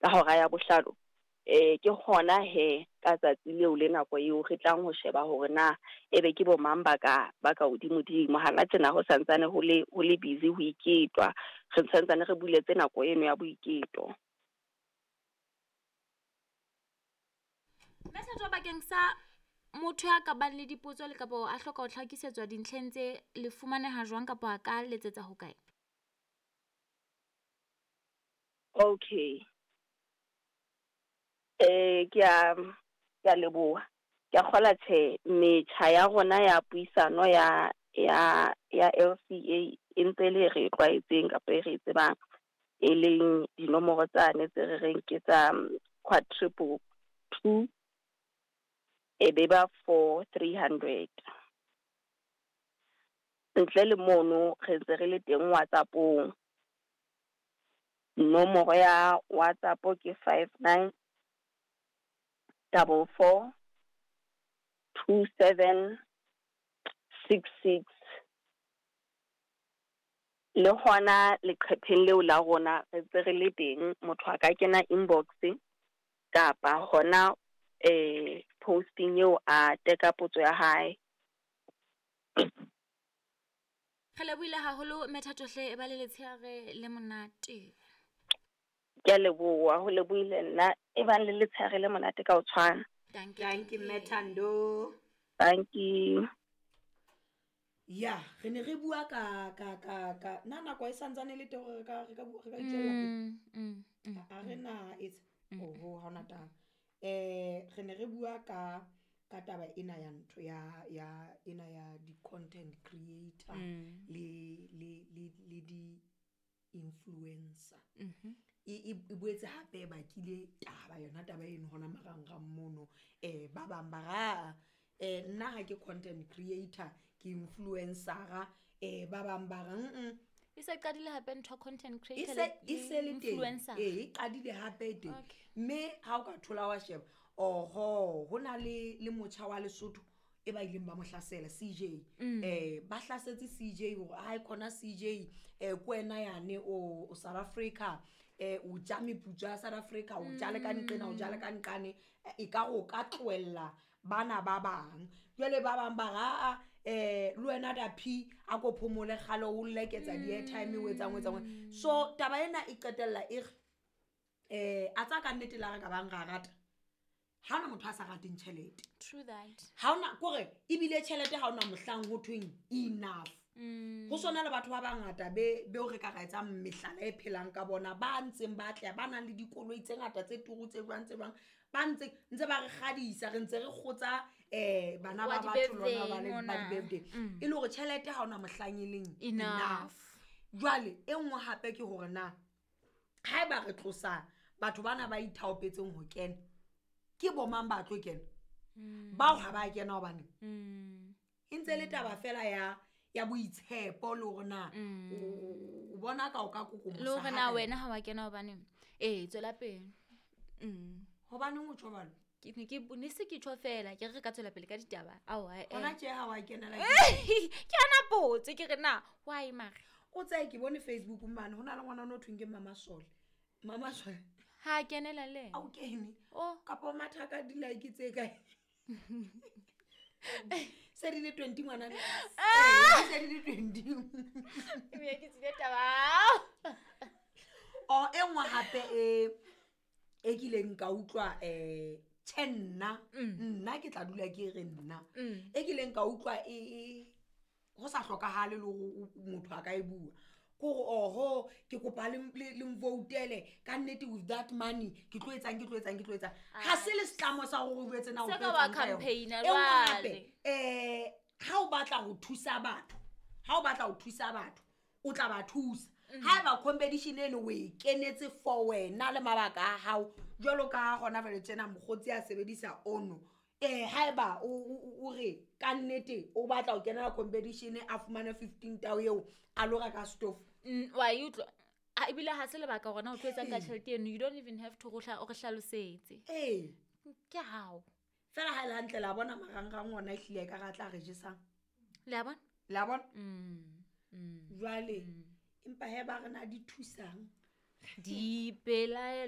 Ka hora ya bohlano ke hona he ka tsatsi leo le nako eo re tlang ho sheba hore na ebe ke bo mang ba ka ba ka hodimodimo. Hana tjena ho santsane ho le busy ho iketwa, re santsane re buletse nako eno ya boiketo. Mme Thato, bakeng sa motho ya ka bang le dipotso le kapa a hloka ho tlhakisetswa dintlheng tse, le fumaneha jwang kapa a ka letsetsa hokae? Okay. Ke a leboha. Ke a kgola tjhe, metjha ya rona ya puisano ya LCA e ntse le re tlwaetseng kapa e re e tsebang, e leng dinomoro tsane tse re reng ke tsa quadruple two, e be ba 4300. Ntle le mono re ntse re le teng WhatsApp-ong. Nomoro ya WhatsApp ke 59 44 27 66. Le hona leqhepheng leo la rona re ntse re le teng, motho a ka kena inbox kapa hona posting eo a teka potso ya hae. Re lebohile haholo Mme Thato hle, e ba le letshehare le monate. Ke a leboha, ho lebohile nna, e bang le letshehare le monate ka ho tshwana. Danke, Danke, Mme Thando. Danke. Ya, re ne re bua ka ka ka ka na nako e santsane le teng hore re ka re ka re ka itswella pele. A re na etsa oho ha hona taba. Re ne re bua ka taba ena ya ntho ya ya ena ya di content creator le le le le di influencer. E boetse hape bakile taba yona taba eno hona marangrang mono. Ba bang ba ra nna ha ke content creator, ke influencer. Ba bang ba re E se qadile hape ntho content creator e se le teng. Influencer. E qadile hape teng. Mme ha o ka thola wa sheba, oho, hona le motjha wa Lesotho e ba ileng ba mo hlasela CJ. Ba hlasetse CJ hore ha e khona CJ, ke wena yane o South Africa, o ja meputso ya South Africa, o ja le ka nqena, o ja le ka nqane, e ka o ka tlohella bana ba bang. Jwale ba bang ba ra le wena da P a ko phomole kgale o leketsa di airtime o etsang o etsang. So taba ena e qetella e re a tsa ka nnete la re ka bang ra rata. Ha hona motho a sa rateng tjhelete. True that. Ha hona kore ebile tjhelete ha hona mohlang ho thweng enough. Ho sona le batho ba bangata be o re ka ra etsang mehlala e phelang ka bona, ba ntseng ba tla ba nang le dikoloi tse ngata tse turu tse jwang tse jwang, ba ntse ba re kgadisa, re ntse re kgotsa bana ba batho lona ba le ba di-birthday. E le hore tjhelete ha hona mohlang e leng enough. Jwale e nngwe hape ke hore na haeba re tlosa batho bana ba ithaopetseng ho kena, ke bo mang ba tlo kena? Bao ha ba kena hobane e ntse le taba fela ya boitshepo le hore na o bona ka o ka kokomosa Le hore na ha kae. wena ha wa kena hobane tswela pele. Hobaneng o tjho jwalo? Ke ne ke ne se ke tjho fela, ke re ka tswela pele ka ditaba. Ao, eh. Hona tje ha wa kenela ke Ke yona potso, ke re na why mare? O tseye ke bone Facebook mane, hona le ngwana o thweng ke Mama Sole. Mama Sole. Ha kenela le A o kene. Oh. Kapa o matha ka di-like tse kae? Se di le 20 ngwana. Se di le 20. Ebe ke tsile taba. O e nngwe hape e kileng ka utlwa tjhe nna, nna ke tla dula ke re nna. E kileng ka utlwa e ho sa hlokahale le hore motho a ka e bua. Kore oho ke kopa le mvoutele ka nnete with that money ke tlo etsang, ke tlo etsang, ke tlo etsang. Ha se le setlamo sa hore o jwetse na o Se tlo ka wa etsang ka yona. campaign-a E nngwe hape, jwale. ha o batla ho thusa batho, ha o batla ho thusa batho, o tla ba thusa. Haeba competition eno o e kenetse for wena le mabaka a hao, jwalo ka hona jwale tjena mokgotsi a sebedisa ono. Haeba o re ka nnete o batla ho kenela competition a fumane 15 tao eo a lo reka stove. Wa e utlwa? A ebile ha se lebaka hore na o tlo etsang ka tjhelete eno, you don't even have to o re hlalosetse. Ke hao. Fela ha e le hantle la bona marangrang ona ehlile e ka re a tla re jesang. Le a bona? Le a bona? Jwale, empa he ba re na di thusang. Dipelaelo.